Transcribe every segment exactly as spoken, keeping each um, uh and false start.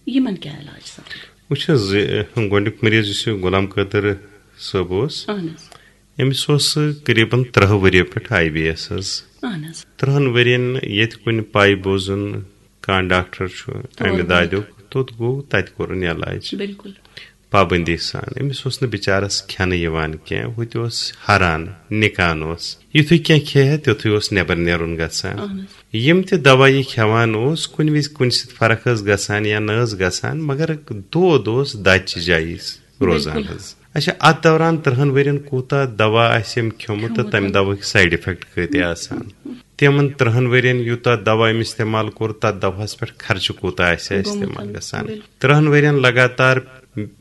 یِمن کیٛاہ علاج سپدِ؟ وٕچھ حظ، یہِ گۄڈٕنیُک مریض یُس یہِ غلام قٲدر صٲب اوس، اہن حظ۔ أمِس اوس قریباً ترٛہ ؤرِیو پٮ۪ٹھ آئی بی ایس حظ۔ اہن حظ۔ ترٛہن ؤرین ییٚتہِ کُنہِ پاے بوزُن کانٛہہ ڈاکٹر چھُ تور امہِ گوٚمُت۔ دادیُک، توٚت گوٚو، تتہِ کوٚرُن علاج۔ بِلکُل۔ پابندی سان۔ أمِس اوس نہٕ بِچارس کھٮ۪نہٕ یِوان کینٛہہ، ہُہ تہِ اوس ہران، نِکان اوس۔ یُتھُے کینٛہہ کھیٚیہِ ہا، تیُتھُے اوس نٮ۪بر نیرُن گژھان۔ اہن حظ۔ یِم تہِ دوا یہِ کھٮ۪وان اوس، کُنہِ وِزِ کُنہِ سۭتۍ فرق ٲس گژھان یا نہ ٲس گژھان، مگر دود اوس دَچہِ جایہِ روزان بِلکُل۔ حظ۔ اچھا، اتھ دوران ترٛہن ؤرین کوٗتاہ دوا آسہِ أمۍ کھیوٚمُت تہٕ کھیوٚمُت۔ تمہِ دواہٕکۍ سایڈ افیکٹ کۭتیاہ آسان؟ تِمن ترٛہن ؤرین یوٗتاہ دوا أمۍ استعمال کوٚر، تتھ دواہس پٮ۪ٹھ خرچہٕ کوٗتاہ آسہِ گوٚمُت۔ گژھان؟ بِلکُل۔ ترٛہن ؤرین لگاتار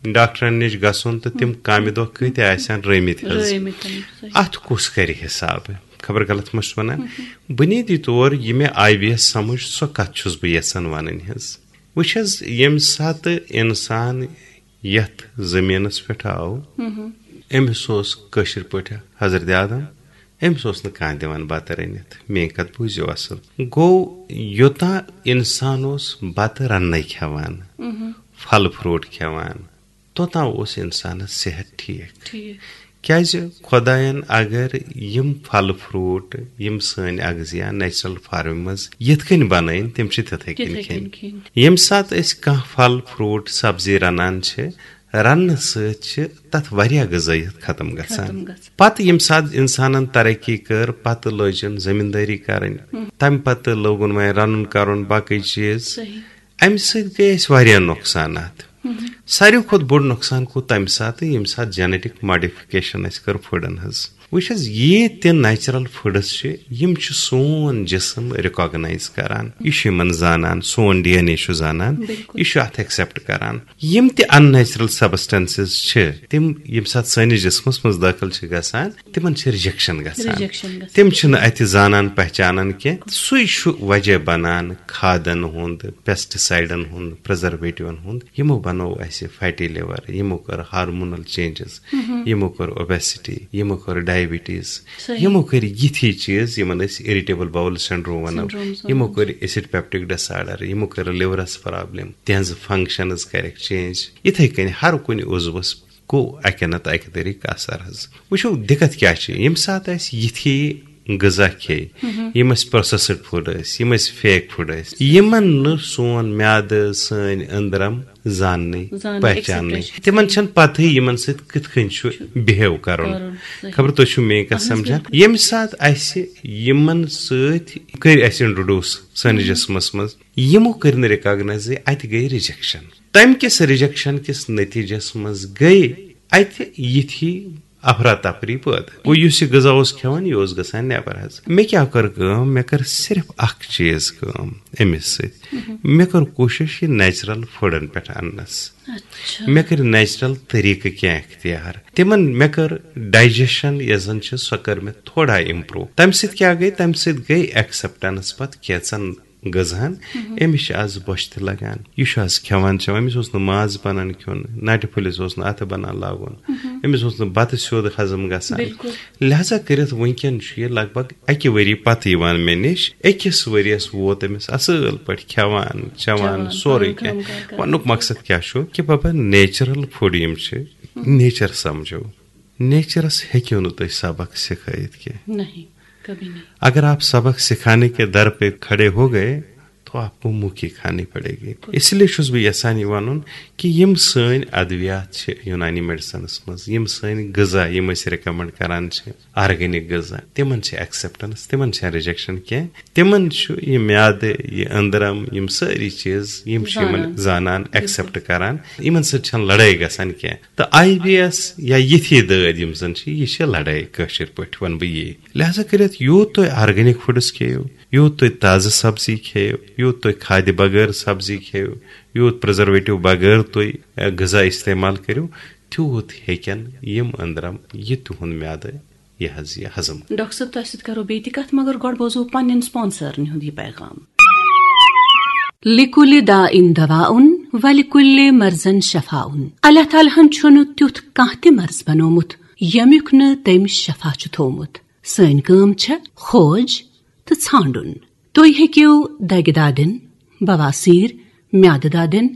ڈاکٹرن نِش گژھُن تہٕ تِم کامہِ دۄہ کۭتیاہ آسن رٲومٕتۍ حظ؟ رٲومٕتۍ، صحیح۔ اتھ کُس کرِ حساب؟ خبر غلط ما چھُس ونان؟ بنیٲدی طور یہِ مےٚ آئی بی ایس سمجھ، سۄ کتھ چھُس بہٕ یژھان ونٕنۍ حظ۔ وٕچھ حظ، ییٚمہِ ساتہٕ انسان یتھ زٔمیٖنس پٮ۪ٹھ آو، أمِس اوس کٲشِر پٲٹھۍ حضرت آدم، أمِس اوس نہٕ کانٛہہ دِوان بتہٕ رٔنِتھ۔ میٲنۍ کتھ بوٗزِو اصل۔ گوٚو، یوٚتام انسان اوس بتہٕ رننے کھٮ۪وان، پھل فروٹ کھٮ۪وان، توٚتام اوس انسانس صحت ٹھیٖک۔ ٹھیٖک۔ کیازِ خۄداین اگر یِم پھل فروٹ، یِم سٲنۍ اغذیہ نیچرل فارمہِ منٛز یِتھ کٔنۍ بنٲوِن، تِم چھِ تِتھے کٔنۍ تِتھے کٔنۍ کھٮ۪نۍ۔ کھٮ۪نۍ۔ ییٚمہِ ساتہٕ أسۍ کانٛہہ پھل فروٹ سبزی رنان چھِ، رننہٕ سۭتۍ چھِ تتھ واریاہ غذٲیت ختم گژھان۔ ختم گژھان۔ پتہٕ ییٚمہِ ساتہٕ انسانن ترقی کٔر، پتہٕ لٲجن زٔمیٖندٲری کرٕنۍ، تمہِ پتہٕ لوگُن وۄنۍ رنُن کرُن باقٕے چیٖز۔ صحیح۔ امہِ سۭتۍ گٔے اسہِ واریاہ نۄقصانات۔ ساروی کھۄتہٕ بوٚڑ نۄقصان گوٚو تمہِ ساتہٕ، ییٚمہِ ساتہٕ جینیٹک ماڈیفکیشن اسہِ کٔر فوڈن ہٕنٛز۔ وٕچھ حظ، یہِ تہِ نیچرل فوڈس چھِ، یِم چھِ سون جسم ریکاگنائز کران، یہِ چھُ یِمن زانان، سون ڈی این اے چھُ زانان، بِلکُل۔ یہِ چھُ اتھ ایکسپٹ کران۔ یِم تہِ ان نیچرل سبسٹنسز چھِ، تِم ییٚمہِ ساتہٕ سٲنِس جسمس منٛز دٲخل چھِ گژھان، تِمن چھِ ریجیکشن گژھان۔ ریجیکشن گژھان۔ تِم چھِنہٕ اتہِ زانان پہچانان کینٛہہ۔ سُے چھُ وجہ بنان کھادن ہُنٛد، پیسٹیسائیڈن ہُنٛد، پرزرویٹیون ہُنٛد۔ یِمو بنوو اسہِ فیٹی لیور، یِمو کٔر ہارمونل چینجز، یِمو کٔر اوبیسٹی، یِمو کٔر ڈائبٹیز، صحیح۔ یِمو کٔر یِتھی چیٖز یِمن أسۍ اریٹیبل باول سنڈروم ونو، سنڈرومز ونو۔ یِمو کٔر ایسڈ پیپٹک ڈس آرڈر، یِمو کٔر لورس پرابلم، تِہنٛز فنکشنز کرکھ چینج۔ یِتھے کٔنۍ ہر کُنہِ عضوس گوٚو اکہِ نتہٕ اکہِ طریقہٕ اثر حظ۔ وٕچھو دِقت کیٛاہ چھِ، ییٚمہِ ساتہٕ اَسہِ یِتھی غذا کھیٚیہِ، یِم اَسہِ پروسیسڈ فوڈ ٲسۍ، یِم اَسہِ فیک فوڈ ٲسۍ، یِمن نہٕ سون میادٕ، سٲنۍ أنٛدرم زاننٕے، زاننٕے، پہچاننٕے، ایکسپٹ تِمن چھنہٕ پتہٕے یِمن سۭتۍ کِتھ کٔنۍ چھُ بِہیو کرُن۔ کرُن، صحیح۔ خبر تُہۍ چھِو میٲنۍ کتھ اہن حظ، سمجھان؟ بِلکُل۔ ییٚمہِ ساتہٕ اَسہِ یِمن سۭتۍ کٔرۍ اَسہِ انٹروڈیوس سٲنِس جسمس منٛز، یِمو کٔرۍ نہٕ ریکاگنایزٕے، اتہِ گٔے ریجیکشن۔ تمہِ کِس ریجیکشن کِس نتیجس منٛز گٔے اتہِ یِتھی افراتفری پٲدٕ۔ گوٚو، یُس یہِ غذا اوس کھٮ۪وان، یہِ اوس گژھان نٮ۪بر حظ۔ مےٚ کیٛاہ کٔر کٲم؟ مےٚ کٔر صرف اکھ چیٖز کٲم أمِس سۭتۍ۔ مےٚ کٔر کوٗشش یہِ نیچرل فوڈن پٮ۪ٹھ اننس۔ اچھا۔ مےٚ کٔرۍ نیچرل طریقہٕ کینٛہہ اختیار۔ تِمن مےٚ کٔر ڈائجیشن یۄس زن چھِ، سۄ کٔر مےٚ تھوڑا امپروو۔ تمہِ سۭتۍ کیٛاہ گٔے؟ تمہِ سۭتۍ گٔے ایکسپٹنس پتہٕ کینٛژن غذہن۔ أمِس چھِ از بۄچھِ تہِ لگان، یہِ چھُ از کھٮ۪وان چٮ۪وان، أمِس اوس نہٕ ماز بنان کھیوٚن، نٹہِ پھٔلِس اوس نہٕ اتھٕ بنان لاگُن، أمِس اوس نہٕ بتہٕ سیوٚد ہضم گژھان۔ بِلکُل۔ لہذا کٔرِتھ وٕنکیٚن چھُ یہِ لگ بگ اکہِ ؤری پتہٕ یِوان مےٚ نِش۔ أکِس ؤریس ووت أمِس اصٕل پٲٹھۍ کھٮ۪وان چٮ۪وان چٮ۪وان، سورُے پنُن کینٛہہ۔ کٲم کار کران۔ وننُک مقصد کیٛاہ چھُ کہِ بابا، نیچرل فوڈ یِم چھِ، نیچر سمجھو۔ نیچرس ہیٚکِو نہٕ تُہۍ سبق سکھٲیِتھ کینٛہہ۔ نہیں، کبھی نہیں۔ اگر آپ سبق سکھانے کے در پہ کھڑے ہو گئے، تو آپ کو منہ کی کھانی پڑے گی۔ اس لیے چھُس بہٕ یژھان یہِ وَنُن کہِ یِم سٲنۍ ادویات چھِ یوٗنانی میڈیسنس منٛز، یِم سٲنۍ غذا، یِم أسۍ ریکمنڈ کران چھِ، آرگینک غذا، تِمن چھِ ایکسپٹنس، تِمن چھِ ریجیکشن کینٛہہ۔ تِمن چھُ یہِ میادٕ، یہِ أنٛدرم، یِم سٲری چیٖز، یِم چھِ یِمن زانان۔ زانان، بِلکُل۔ ایکسپٹ کران۔ یِمن سۭتۍ چھَنہٕ لڑٲے گژھان کینٛہہ۔ تہٕ آئی بی ایس یا یِتھی دٲدۍ یِم زن چھِ، یہِ چھِ لڑٲے، کٲشِر پٲٹھۍ وَنہٕ بہٕ یی۔ لہذا کٔرِتھ یوٗت تُہۍ آرگینک فوڈس کھیٚیِو، یوٗت تُہۍ تازٕ سبزی کھیٚیِو، یوٗت تُہۍ کھادِ بغٲر سبزی کھیٚیِو، یوٗت پرزرویٹو بغٲر تُہۍ، اے، غذا استعمال کٔرِو، تیوٗت ہیٚکن یِم أنٛدرم یہِ تُہُنٛد میادٕ یہِ حظ یہِ ہضم۔ ڈاکٹر صٲب، تۄہہِ سۭتۍ کرو بیٚیہِ تہِ کتھ، مگر گۄڈٕ بوزو پننٮ۪ن سپانسرن ہُنٛد یہِ پیغام۔ لِکُلِ دَاءٍ دَوَاءٌ وَلِکُلِّ مَرْضٍ شَفَاءٌ۔ اللہ تعالیٰ ہن چھُنہٕ تیُتھ کانٛہہ تہِ مرض بنوومُت، ییٚمیُک نہٕ تٔمۍ شفا چھُ تھوومُت۔ سٲنۍ کٲم چھےٚ کھوج تہٕ ژھانٛڈُن۔ تُہۍ ہیٚکِو دگہِ دادٮ۪ن، بواسیر، میادٕ دادٮ۪ن،